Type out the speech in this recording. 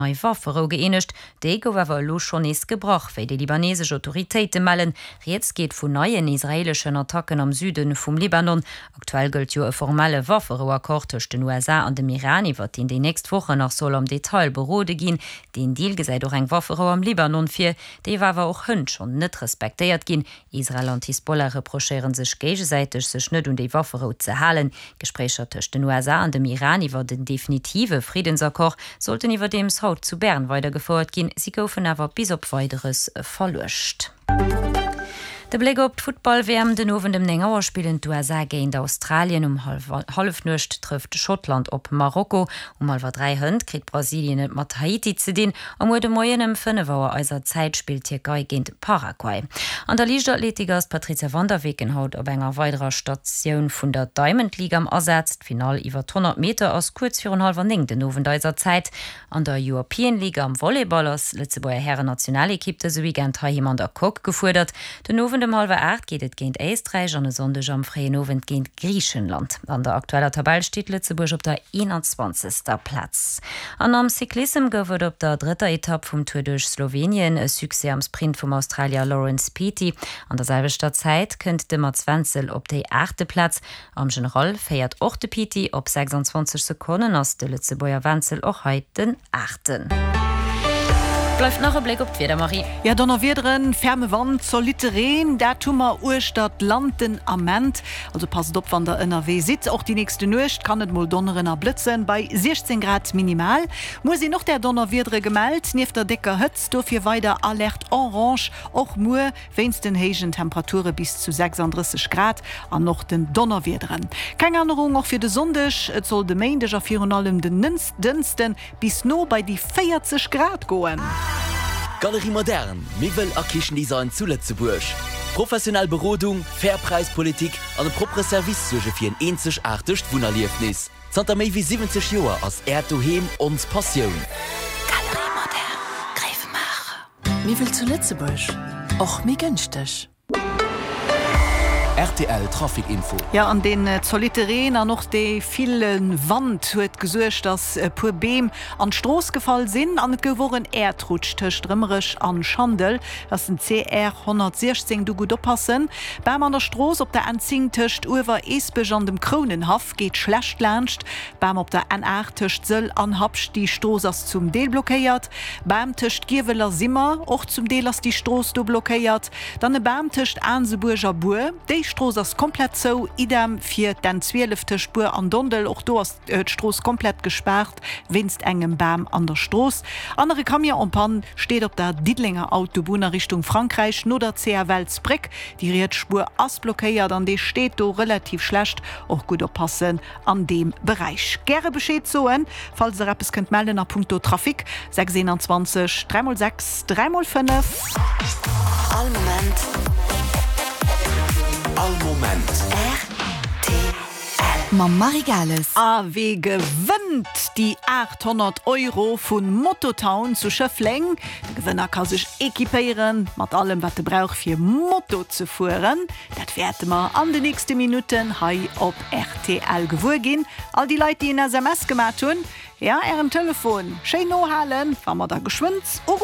Nei Wafferou gëeenegt. Déi gouf awer elo schonn nees gebrach, wéi déi libanesesch Autoritéite mellen. Rieds geet vun neien israeeleschen Attacken am Süde vum Libanon. Aktuell gëllt jo e formelle Wafferou-Accord tëscht den USA an dem Iran, iwwer deen déi nächst Wochen nach soll am Detail berode ginn. Deen Deal gesäit och eng Wafferou am Libanon vir, déi awer och hënt schonn net respektéiert ginn. Israel an d'Hisbollah reprochéiere sech géigesäiteg, sech net un déi Wafferou ze halen. D'Gespréicher tëscht den USA an dem Iran iwwer en definitive Friddensaccord sollten iwwerdeems haut zu Bern weidergefouert ginn. Si goufen awer bis op Weideres verluecht. De Bléck op d'Futtball-WM, Den Owend ëm 9 Auer spillen d'USA géint Australien, um Hallefnuecht trëfft Schottland op Marokko, um hallwer 3 hënt kritt Brasilien et mat Haiti ze dinn a muer de Moien ëm 5 Auer eiser Zäit spillt d'Tierkei géint Paraguay. An der Liichtathletik ass d'Patrizia van der Weken haut op enger weiderer Statioun vun der Diamond League am Asaz. D'Finall iwwer d' 100 Meter ass kuerz virun hallwer 9 den Owend eiser Zäit. An der European League am Volleyball ass d'Lëtzebuerger Hären-Nationalekipp dëse Weekend heiheem an der Coque gefuerdert. Den Owend ëm hallwer 8 geet et géint Éisträich an e Sonndeg am fréien Owend géint Griichenland. An der aktueller Tabell steet Lëtzebuerg op der 21. Plaz. An am Cyclissem gouf et op der drëtter Etapp vum Tour duerch Slowenien e Succès am Sprint vum Australier Laurence Pithie. An der selwechter Zäit kënnt de Mats Wenzel op déi aachte Plaz. Am General féiert och de Pithie op 26 Sekonnen, ass de Lëtzebuerger Wenzel och hei den Aachten. Bleift nach e Bléck op d'Wieder, Marie. Jo, Donnerwiederen, ferme Wand, zolitte Reen, dat hu mer uechter d'Land den Ament. Also passt op wann der ënnerwee sidd. Och déi nächste Nuecht kann et mol donneren a blëtzen, bei 16 Grad minimal. Muer sinn och där Donnerwiedere gemellt, nieft der décker Hëtzt. Dofir weider Alerte orange och muer wéinst den héijen Temperature bis zu 36 Grad an och den Donnerwiederen. Keng Ännerung och fir de Sonndeg, et soll de Méindeg a virun allem den Dënschden Bis no bei déi 40 Grad goen. Galerie Moderne, Miwwel a Kichendesign zu Lëtzebuerg. Professionell Berodung, fair Präispolitik an e proppere Service suerge fir en eenzegaartegt Wunnerliefnis. Zanter méi wéi 70 Joer ass Äert Doheem ons Passioun. Galerie Moderne, Gréiwemaacher. Miwwel zu Lëtzebuerg, och méi gënschteg. Rtl Trafic Info. Jo, an deen zolitte Reen an och dee ville Wand huet gesuergt, dass e puer Beem an d'Strooss gefall sinn an et gouf och en Äerdrutsch tëscht Rëmerech an Schandel. Dat ass den CR 116, do gutt oppassen. Bam an der Strooss op der N10 tëscht Uewer-Eesbech an dem Krounenhaff geet schlecht laanscht. Bam op der N8 tëscht Sëll an Habscht, déi Strooss ass zum Deel blockéiert. Bam tëscht Giewel a Simmer, och zum Deel ass déi Strooss do blockéiert. Dann e Bam tëscht Aansebuerg a Buer, déi Strooss ass komplett zou. Idem fir d'N 12 tëscht Buer an Dondel, och do ass d'Strooss komplett gespaart wéinst engem Bam an der Strooss. An nach e Camion en panne steet op der Diddelenger Autobunn a Richtung Frankräich no der CFL Bréck. Déi riets Spuer ass blockéiert an dee steet do relativ schlecht. Och gutt oppassen an deem Beräich. Gäre Bescheed soen, falls der eppes kënnt mellen a punkto Trafic. 6 21 3 mol 6 3 mol 5. All Moment. All Moment. Rtl. Mam Marie Gales. A wee gewënnt déi 800 Euro vu Mototown zu Schëffleng? De Gewënner ka sech equipéieren mat allem wat e brauch fir Moto ze fueren. Dat wäerte mer an de nächste Minutten hei op rtl gewuer ginn. All déi Leit, déi en SMS gemat hunn, ja, Ären Telefon schéin nohalen, wa mer da geschwënn uruffen.